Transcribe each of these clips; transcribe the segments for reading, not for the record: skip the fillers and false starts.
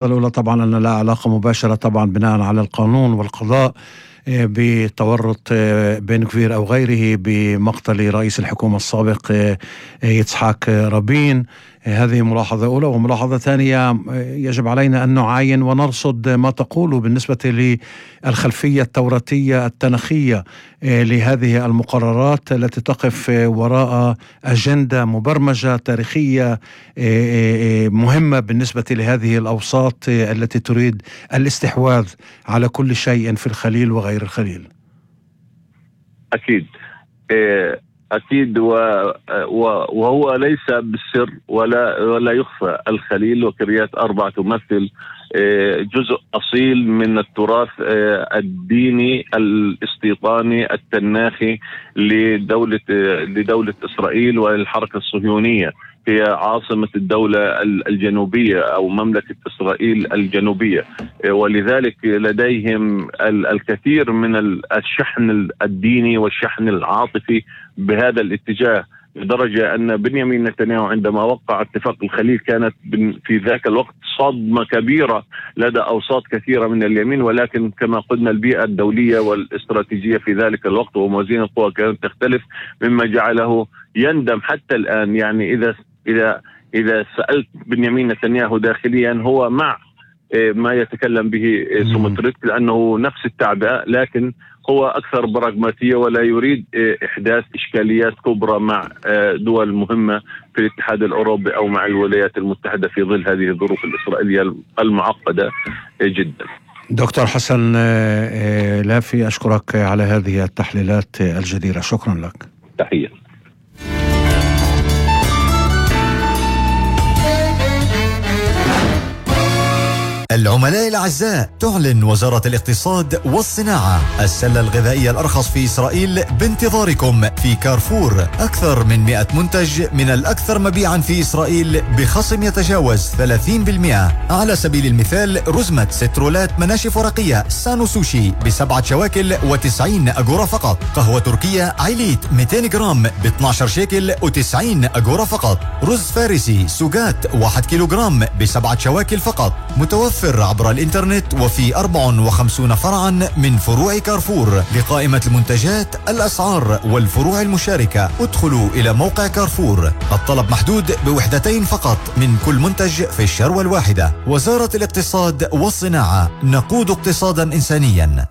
الأولى طبعا أن لا علاقة مباشرة طبعا بناء على القانون والقضاء بتورط بن غفير أو غيره بمقتل رئيس الحكومة السابق يتسحاق رابين. هذه ملاحظة أولى. وملاحظة ثانية، يجب علينا أن نعاين ونرصد ما تقوله بالنسبة للخلفية التوراتية التنخية لهذه المقررات التي تقف وراء أجندة مبرمجة تاريخية مهمة بالنسبة لهذه الأوساط التي تريد الاستحواذ على كل شيء في الخليل وغير الخليل. أكيد وهو ليس بالسر ولا يخفى. الخليل وكريات أربعة تمثل جزء أصيل من التراث الديني الاستيطاني التناخي لدولة إسرائيل والحركة الصهيونية. هي عاصمة الدولة الجنوبية أو مملكة إسرائيل الجنوبية، ولذلك لديهم الكثير من الشحن الديني والشحن العاطفي بهذا الاتجاه، لدرجة أن بنيامين نتنياهو عندما وقع اتفاق الخليل كانت في ذاك الوقت صدمة كبيرة لدى أوساط كثيرة من اليمين، ولكن كما قلنا البيئة الدولية والاستراتيجية في ذلك الوقت وموازين القوى كانت تختلف، مما جعله يندم حتى الآن. يعني إذا سألت بنيامين نتنياهو داخليا هو مع ما يتكلم به سموتريتش لأنه نفس التعبئة، لكن هو أكثر براغماتية ولا يريد إحداث إشكاليات كبرى مع دول مهمة في الاتحاد الأوروبي أو مع الولايات المتحدة في ظل هذه الظروف الإسرائيلية المعقدة جدا. دكتور حسن لافي، أشكرك على هذه التحليلات الجديرة. شكرا لك. تحية. العملاء الأعزاء، تعلن وزارة الاقتصاد والصناعة السلة الغذائية الأرخص في إسرائيل بانتظاركم في كارفور. أكثر من 100 منتج من الأكثر مبيعا في إسرائيل بخصم يتجاوز 30%. على سبيل المثال، رزمة سترولات مناشف ورقية سانو سوشي ب7 شواكل و90 أجورة فقط. قهوة تركية عيليت 200 جرام ب12 شيكل و90 أجورة فقط. رز فارسي سوغات 1 كيلوغرام ب7 شواكل فقط. متوفر عبر الإنترنت وفي 54 فرعا من فروع كارفور. لقائمة المنتجات، الأسعار والفروع المشاركة، ادخلوا إلى موقع كارفور. الطلب محدود ب2 فقط من كل منتج في الشروة الواحدة. وزارة الاقتصاد والصناعة، نقود اقتصادا إنسانيا.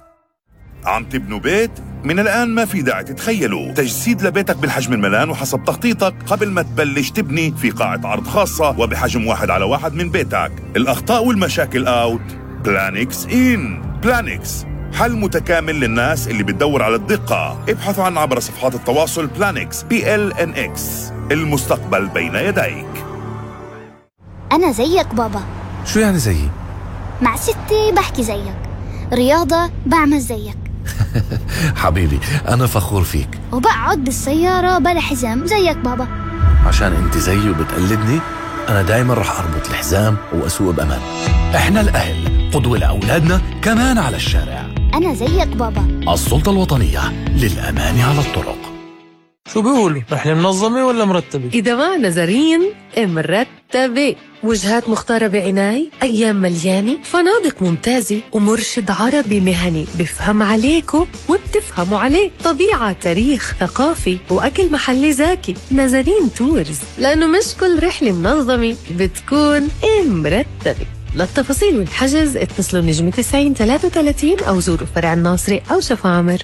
عم تبنوا بيت؟ من الآن ما في داعي تتخيلوا تجسيد لبيتك بالحجم الملان وحسب تخطيطك قبل ما تبلش تبني في قاعة عرض خاصة وبحجم 1:1 من بيتك. الأخطاء والمشاكل أوت، بلانكس إن. بلانكس حل متكامل للناس اللي بتدور على الدقة. ابحثوا عن عبر صفحات التواصل بلانكس PLNX. المستقبل بين يديك. أنا زيك بابا. شو يعني زيي؟ مع ستي بحكي زيك، رياضة بعمل زيك. حبيبي أنا فخور فيك. وبقعد بالسيارة بلا حزام زيك بابا. عشان انت زيي وبتقلدني، أنا دايما رح أربط الحزام وأسوق بأمان. إحنا الأهل قدوة لأولادنا كمان على الشارع. أنا زيك بابا. السلطة الوطنية للأمان على الطرق. شو بيقولوا؟ رحلة منظمة ولا مرتبة؟ إذا ما نظريا مرتبة. وجهات مختارة بعناية، أيام مليانة، فنادق ممتازة، ومرشد عربي مهني بفهم عليكم وبتفهموا عليه. طبيعة، تاريخ، ثقافي، وأكل محلي زاكي. نظرين تورز، لأنه مش كل رحلة منظمة بتكون مرتبة. للتفاصيل والحجز اتصلوا نجم 90-33 أو زوروا فرع الناصري أو شفاعمر.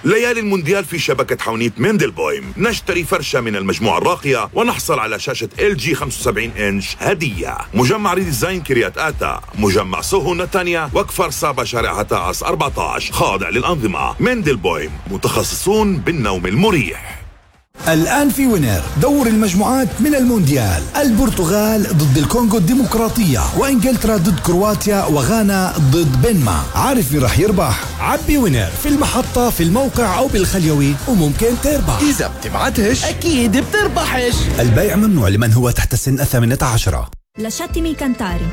ليالي المونديال في شبكة حونيت مندلبويم. نشتري فرشة من المجموعة الراقية ونحصل على شاشة LG 75 إنش هدية. مجمع ريديزاين كريات آتا، مجمع سوهو نتانيا، وكفر سابا شارع هتاعس 14، خاضع للأنظمة. مندلبويم، متخصصون بالنوم المريح. الآن في وينر دور المجموعات من المونديال. البرتغال ضد الكونغو الديمقراطية، وإنجلترا ضد كرواتيا، وغانا ضد بنما. عارف مين رح يربح؟ عبي وينر في المحطة، في الموقع أو بالخليوي، وممكن تربح. إذا بتبعتش أكيد بتربحش. البيع ممنوع لمن هو تحت السن 18. لشاتمي كانتاري،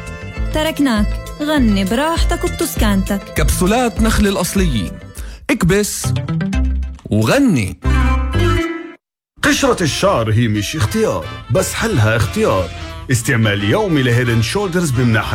تركناك غني براحتك وبتسكانتك. كبسولات نخل الأصليين، اكبس وغني. قشرة الشعر هي مش اختيار، بس حلها اختيار. استعمال يومي لهيدن شولدرز بمناحة